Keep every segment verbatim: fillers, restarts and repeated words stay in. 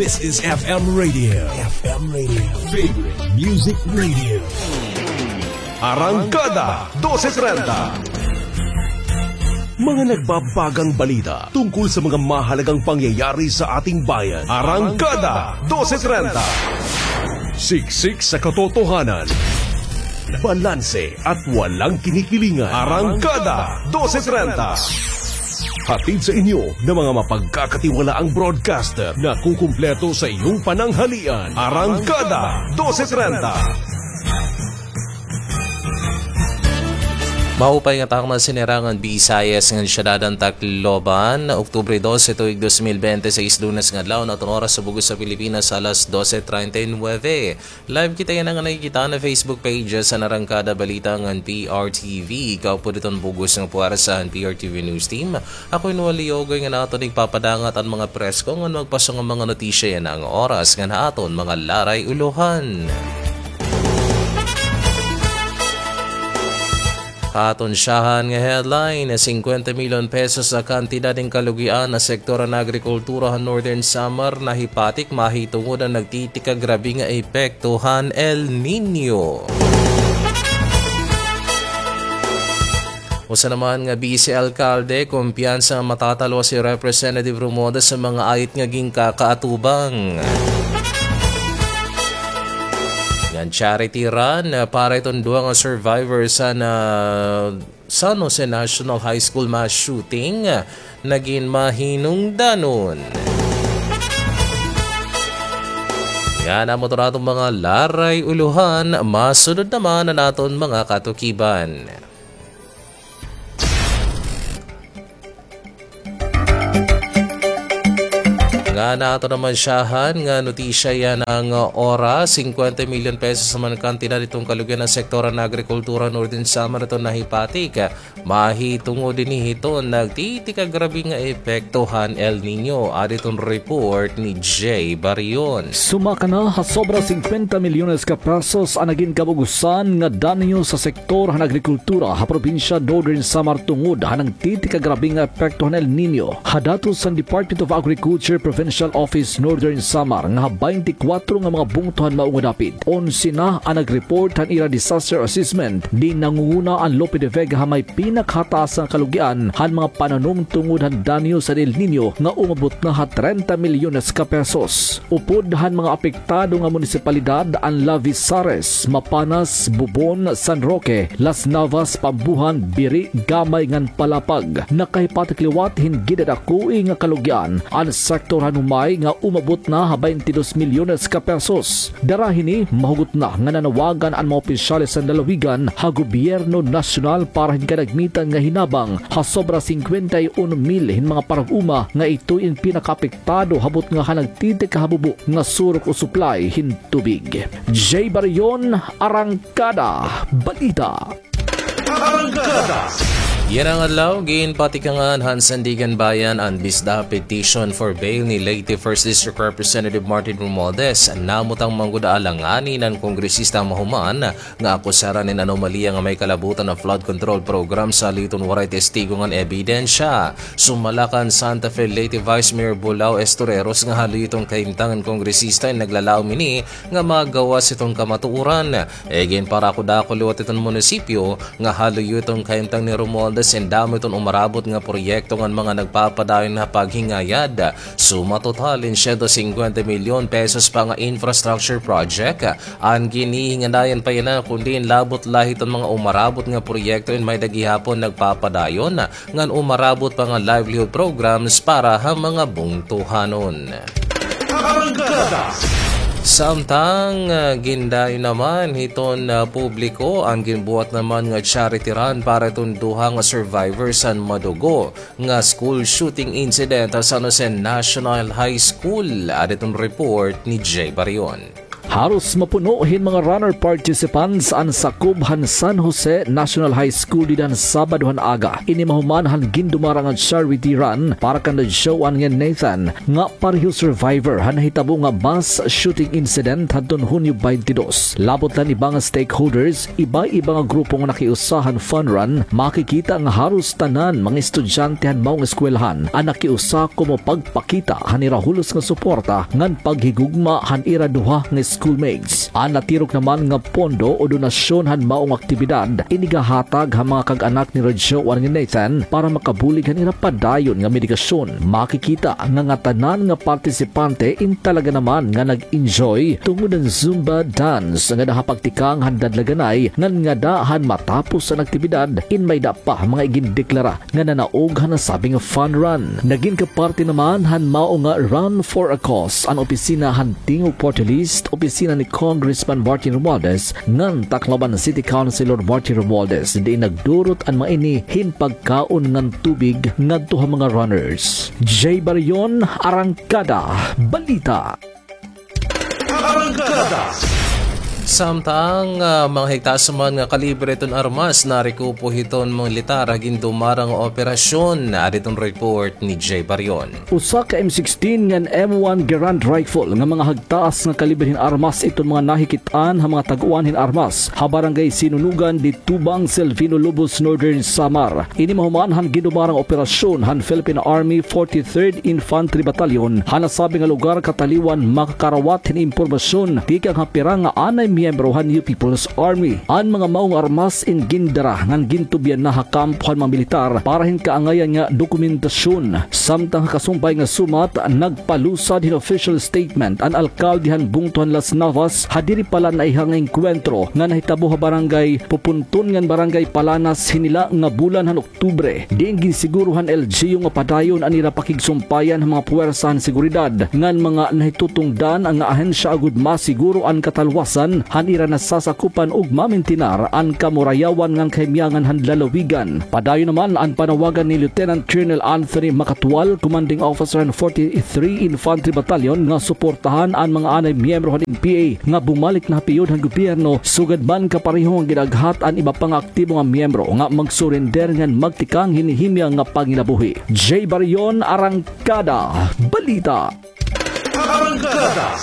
This is F M Radio. F M Radio. Favorite Music Radio. Arangkada dose trenta. Mga nagbabagang balita tungkol sa mga mahalagang pangyayari sa ating bayan. Arangkada dose trenta. Siksik sa katotohanan. Balanse at walang kinikilingan. Arangkada dose trenta. Hatid sa inyo ng mga mapagkakatiwalaang broadcaster na kukumpleto sa iyong pananghalian. Arangkada dose trenta. Maupay nga takna, sinirangan Visayas ngan syudad han Tacloban, Oktubre dose, tuig dos mil bente seis, Lunes nga adlaw, an aton oras ha bug-os ha Pilipinas, alas dose treinta y nueve. Live kita yana nga nakikita ha Facebook pages han Arangkada Balita ngan P R T V. Kaupod hiton bug-os nga puwersa han P R T V News Team, ako hi Noel Leogoy nga aton igpapadangat an mga presko ngan magpaso nga mga notisya yana nga oras ngan ha aton mga laray-ulohan. Ha aton syahan nga headline, singkwenta milyon pesos ha kantidad hin kalugian ha sektor han agrikultura ha Northern Samar nahipatik mahitungod han nagtitikagrabe nga epekto han El Niño. Usa naman nga bise alkalde, kumpiyansa nga matatalwas hi Representative Romualdez ha mga ayot nga ginkakaatubang. Ngan charity run, ah, para hiton duha nga survivors han, ah, San Jose National High School mass shooting, ah, nagin mahinungdanon. Yana man ito an aton mga laray-ulohan, masunod naman an aton mga katukiban. Ngan ha aton naman syahan nga notisya yana nga oras, singkwenta milyon pesos naman kantidad hiton kalugian han sektor han agrikultura Northern Samar iton nahipatik mahitungod hini hiton nagtitikagrabe nga epekto han El Niño. Adi iton report ni Jay Barion. Sumaka na ha sobra singkwenta milyones ka pesos an nagin kabug-osan nga danyo sa sektor han agrikultura ha probinsya Northern Samar tungod han nagtitikagrabe nga epekto han El Niño. Ha datos han Department of Agriculture Provincial Office Northern Samar nga ha baynte kwatro nga mga bungto han mao nga dapit, onse na an nag-report han ira disaster assessment. Di nangunguna an Lope de Vega ha may pinakahataas nga kalugian han mga pananom tungod han danyo san El Niño nga umabot na ha trenta milyones ka pesos. Upod han mga apektado nga munisipalidad an Lavizares, Mapanas, Bubon, San Roque, Las Navas, Pambuhan, Biri, Gamay ngan Palapag. Nakahipatik liwat hin gidadakoi nga kalugian an sektor han Humay nga umabot na ha baynte dos milyones ka pesos. Dara hini, mahugot na nga nanawagan an mga opisyales han lalawigan ha gobyerno nasyonal para hin kadagmitan nga hinabang ha sobra singkwenta y uno mil hin mga parag-uma nga ito in pinakaapektado ha butnga han nagtitikahabubo nga surok o supply hin tubig. Jay Barion, Arangkada Balita. Arangkada. Yana nga adlaw, ginpatikangan han Sandiganbayan an bisda petition for bail ni Leyte First District Representative Martin Romualdez. Namutang man gud alanganin an kongresista mahuman nga akusaran hin anomalya nga may kalabutan an flood control program sa haloy hiton waray testigo ngan ebidensya. Sumala kan Santa Fe Leyte Vice Mayor Bulao Estoreros nga haloy hiton kahimtang an kongresista in naglalaom hini nga magawas hiton kamatuoran. Igin parakudako liwat hiton munisipyo nga haloy hiton kahimtang ni Romualdez in damo hiton umarabot nga proyekto ngan mga nagpapadayon ha paghingayad. Suma total in siyento singkwenta milyon pesos pa nga infrastructure project an ginhihinganayan pa yana, kundi in labot la hiton mga umarabot nga proyekto in may-ada gihapon nagpapadayon ngan umarabot pa nga livelihood programs para ha mga bungtohanon. Arangkada. Samtang, ah, gindayo naman hiton, ah, publiko an ginbuhat naman nga charity run para hiton duha nga survivors han madugo nga school shooting incident ha San Jose National High School. Adi iton report ni Jay Barion. Haros mapuno hin mga runner participants an sakob han San Jose National High School dida han Sabado han aga. Ini mahuman han gindumarang nga charity run para kan Radyoan nga Nathan nga pareho survivor han nahitabo nga mass shooting incident hadton Hunyo twenty-two. Labot la han iba nga stakeholders, iba-iba nga grupo nga nakiusa han fun run, makikita nga haros tanan mga estudyante han maong eskwelahan an nakiusa komo pagpakita han ira hulos nga suporta ngan paghigugma han ira duha nga schoolmates. An natirok naman nga pondo o donasyon han maong aktibidad inigahatag han mga kag-anak ni Radyoan nga Nathan para makabulig han ira padayon nga medikasyon. Makikita nga ngatanan nga partisipante in talaga naman nga nag-enjoy tungod an Zumba dance nga nahapagtikang han dadlaganay ngan ngada han matapos an aktibidad in may-ada pa mga igindeklara nga nanaog han nasabi nga fun run. Nagin kaparte naman han mao nga Run for a Cause an opisina han Tingog Party List, opisina ni Congressman Martin Romualdez, ngan Tacloban City Councilor Martin Romualdez, diin nagdurot an mga ini hin pagkaon ngan tubig ngadto ha mga runners. Jay Barion, Arangkada Balita. Arangkada. Samtang, ah, mga higtaas man nga kalibre iton armas narekupo hiton militar ha gindumarang nga operasyon. Adi iton report ni Jay Barion. Usa ka M sixteen ngan M one Garand rifle nga mga hagtaas nga kalibre hin armas iton mga nahikit-an ha mga tag-uwan hin armas ha Barangay Sinunugan, Ditubang, Silvino Lobos, Northern Samar. Ini mahuman han gindumarang operasyon han Philippine Army forty-third Infantry Battalion ha nasabi nga lugar kataliwan makakarawat hin impormasyon tikang ha pira nga anay miyembro han New People's Army. An mga maong armas in gindara ngan gintubyan na ha kampo han mga militar para hin kaangayan nga dokumentasyon. Samtang ha kasumpay nga sumat, nagpalusad hin official statement an alkalde han bungto han Las Navas ha diri pa la naiha nga engkwentro nga nahitabo ha Barangay Pupunton ngan Barangay Palanas hin hila nga bulan han Oktubre, diin ginsiguro han L G U nga padayon an ira pakigsumpayan han mga puwersa han seguridad ngan mga nahitutungdan nga ahensya agod masiguro an katalwasan han ira nasasakupan ug mamintinar an kamurayawan ngan kahimyangan han lalawigan. Padayon naman an panawagan ni Lieutenant Colonel Anthony Macatual, Commanding Officer han forty-three Infantry Battalion, nga suportahan an mga anay miyembro han N P A nga bumalik na ha piyod han gobyerno, sugad man kapareho nga gin-aghat an iba pa nga aktibo nga miyembro nga mag-surrender ngan magtikang hin himyang nga panginabuhi. Jay Barion, Arangkada Balita. Arangkada.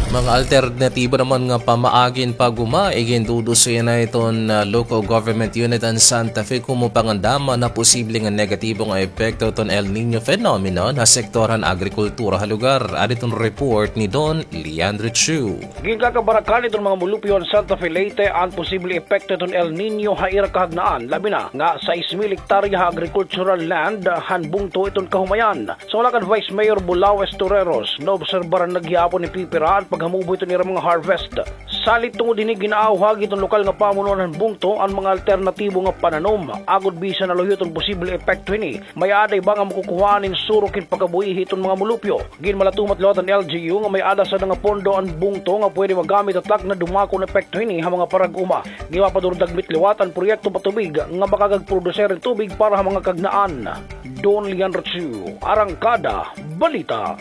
Mga alternatibo naman nga pamaagi hin pag-uma, iginduduso yana hiton, ah, Local Government Unit han Santa Fe komo pangandam han posible nga negatibo nga epekto hiton El Niño phenomenon ha sektor han agrikultura ha lugar. Adi iton report ni Don Leandro Chu. Ginkakabarakan hiton mga molupyo han Santa Fe, Leyte an posible epekto hiton El Niño ha ira kahagnaan, labi na nga sais mil hektarya ha agricultural land han bungto hiton kahumayan. Sumala kan Vice Mayor Bulaoes Torreros, naobserbaran na gihapon ni Pipira an paghamubo hiton ira mga harvest. Salit tungod hini, gin-aawhagi hiton lokal nga pamunuan han bungto an mga alternatibo nga pananom agod bisan na luyo hiton posible epekto hini, may-ada iba nga makukuhaan hin surok hin pagkabuhi hiton mga molupyo. Ginmalatumat liwat han L G U nga may-ada sana nga pondo an bungto nga pwede magamit ha takna dumako an epekto hini ha mga parag-uma. Ginpapadurog dagmit liwat an proyekto patubig nga makagagproduser hin tubig para ha mga kahagnaan. Don Leandro Chu, Arangkada Balita.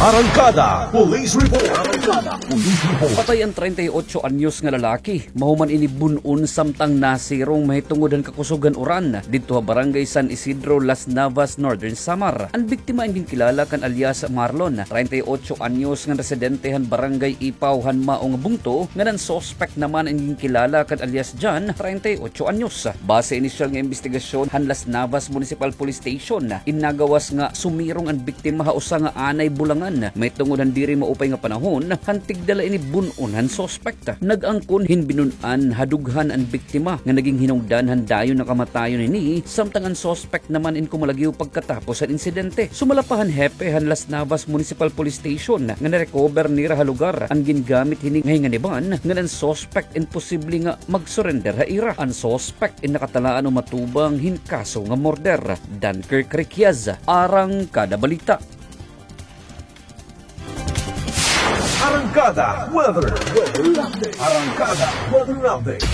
Arangkada Police Report. Arangkada Police Report. Patay an treinta y ocho anyos nga lalaki. Mahuman ini bun-on samtang nasirong mahitungod han kakusog han uran didto ha Barangay San Isidro, Las Navas, Northern Samar. An biktima an ginkilala kan alias Marlon, treinta y ocho anyos, nga residente han Barangay Ipaw han mao nga bungto, ngan an suspek naman an ginkilala kan alias John, treinta y ocho anyos. Base inisyal nga imbestigasyon han Las Navas Municipal Police Station, in nagawas nga sumirong an biktima ha usa nga anay bulangan mahitungod han diri maupay nga panahon han tigda la ini bun-on han suspek. Nag-angkon hin binun-an ha dughan an biktima nga naging hinungdan han dayon nga kamatayon hini, samtang an suspek naman in kumalagiw pagkatapos han insidente. Sumala pa han hepe han Las Navas Municipal Police Station nga na-recover nira ha lugar an gingamit hini nga hinganiban ngan an suspek in posible nga mag-surrender ha ira. An suspek in nakatalaan o matubang hin kaso nga murder. Dunkirk Requias, Arangkada Balita. Arangkada Weather. Arangkada Weather Update.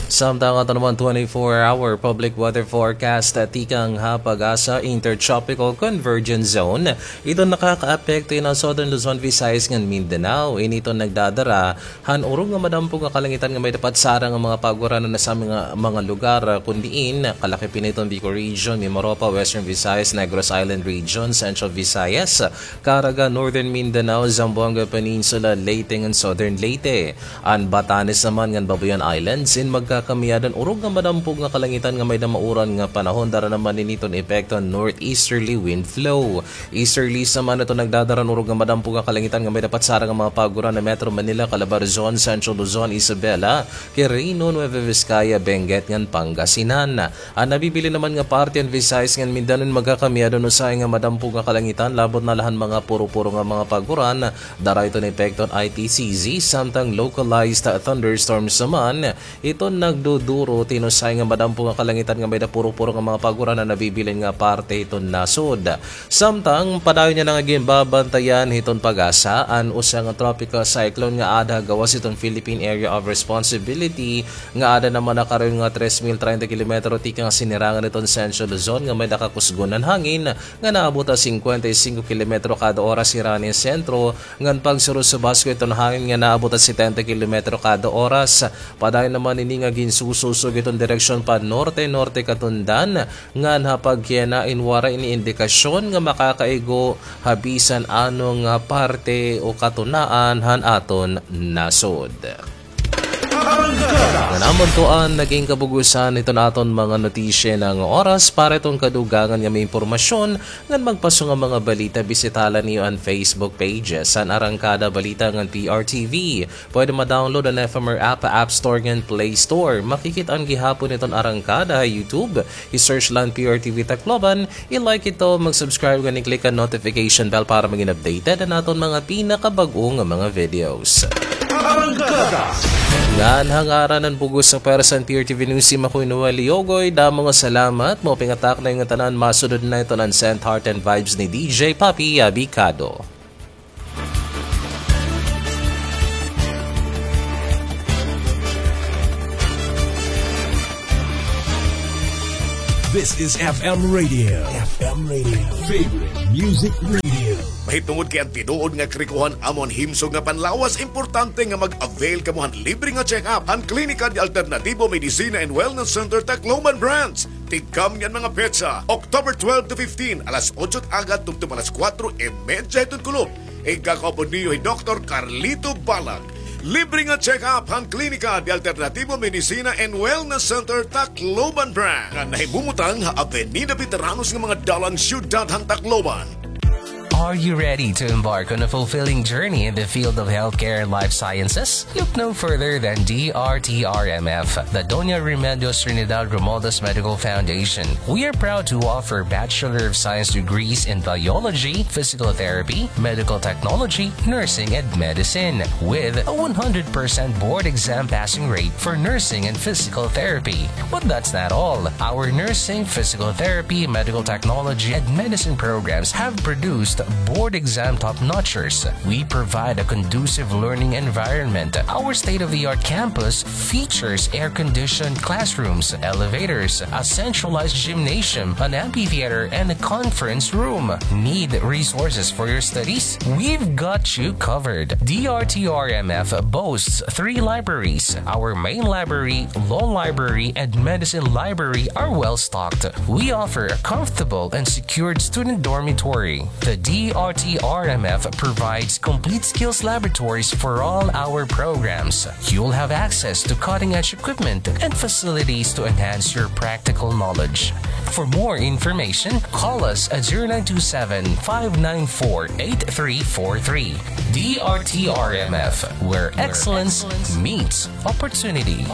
Samtang aton naman twenty-four hour public weather forecast, ah, tikang ha PAGASA, Intertropical Convergence Zone iton nakakaapekto hiton Southern Luzon, Visayas ngan Mindanao. Ini iton nagdadara han urog nga madampog nga kalangitan nga may-ada patsara nga mga paguranan ha mga, mga lugar, ah, kun diin kalakip hini iton Bicol Region, Mimaropa, Western Visayas, Negros Island Region, Central Visayas, Caraga, Northern Mindanao, Zamboanga Peninsula, Leyte ngan Southern Leyte. An Batanes naman ngan Babuyan Islands in magkakamiyadan urog nga madampog nga kalangitan nga may-ada mauran nga panahon, dara naman ini iton epekto han northeasterly wind flow. Easterlies naman iton nagdadara han urog nga madampog nga kalangitan nga may-ada patsara nga mga paguranan ha Metro Manila, Calabarzon, Central Luzon, Isabela, Quirino, Nueva Vizcaya, Benguet ngan Pangasinan. An nabibilin naman nga parte han Visayas ngan Mindanao in magkakamiyadan usahay nga madampog nga kalangitan, labot na la han mga puro-puro nga mga paguran, dara iton epekto han I T C Z, samtang localized thunderstorms naman iton nagduduro hin usahay nga madampog nga kalangitan nga may-ada puro-puro nga mga paguran an nabibilin nga parte hiton nasod. Samtang padayon yana nga ginbabantayan hiton PAGASA an usa nga tropical cyclone nga aada ha gawas hiton Philippine Area of Responsibility nga aada naman ha karayon nga tres mil treinta kilometro tikang ha sinirangan hiton Central Luzon nga may-ada kakusgon han hangin nga naabot ha singkwenta y singko kilometro kada oras hirahan ha sentro, ngan pagsurusubas ko iton hangin nga naabot ha setenta kilometro kada oras. Padayon naman ini nga ginsususog iton direksyon pa norte-norte katundan, ngan ha pagkayana in waray ini indikasyon nga makakaigo ha bisan ano nga parte o katunaan han aton nasod. Ngan amo ito an naging kabug-osan hiton aton mga notisya nga oras para hiton kadugangan nga mga impormasyon. Ngan magpaso nga mga balita, bisita la niyo an Facebook pages han Arangkada Balita ngan P R T V. Pwede ma-download an F M R app ha App Store ngan Play Store. Makikit-an gihapon iton Arangkada ha YouTube. I-search la an P R T V Tacloban, i-like ito, mag-subscribe ngan i-click an notification bell para magin updated an aton mga pinakabag-o nga mga videos. Ngan ha ngaran han bug-os nga pwersa han P R T V News Team, ako hi Noel Liogoy. Damo nga salamat. Maupay nga takna niyo ngatanan. Masunod na iton an Sent Heart and Vibes ni D J Papi Abicado. This is F M Radio. F M Radio. Favorite Music Radio. Mahitungod kay an tinuod nga karikohan amo an himsog nga panlawas, importante nga mag-avail kamo han libre nga check-up han Klinika de Alternativo Medicina and Wellness Center Tacloban Branch. Tikang niyan mga petsa, October twelve to fifteen, alas otso agad tubtob alas kuwatro y medya hiton kulop. Igkakaupod niyo hi Doktor Carlito Balag. Libre nga check-up han Klinika de Alternativo Medicina and Wellness Center Tacloban Branch nga nahimumutang ha Avenida Veteranos nga mga dalan, siyudad han Tacloban. Are you ready to embark on a fulfilling journey in the field of healthcare and life sciences? Look no further than D R T R M F, the Doña Remedios Trinidad Romualdez Medical Foundation. We are proud to offer Bachelor of Science degrees in biology, physical therapy, medical technology, nursing, and medicine, with a one hundred percent board exam passing rate for nursing and physical therapy. But that's not all. Our nursing, physical therapy, medical technology, and medicine programs have produced board exam top-notchers. We provide a conducive learning environment. Our state-of-the-art campus features air-conditioned classrooms, elevators, a centralized gymnasium, an amphitheater, and a conference room. Need resources for your studies? We've got you covered. D R T R M F boasts three libraries. Our main library, law library, and medicine library are well stocked. We offer a comfortable and secured student dormitory. The D R T R M F provides complete skills laboratories for all our programs. You'll have access to cutting-edge equipment and facilities to enhance your practical knowledge. For more information, call us at zero nine two seven, five nine four, eight three four three. D R T R M F, where excellence meets opportunity.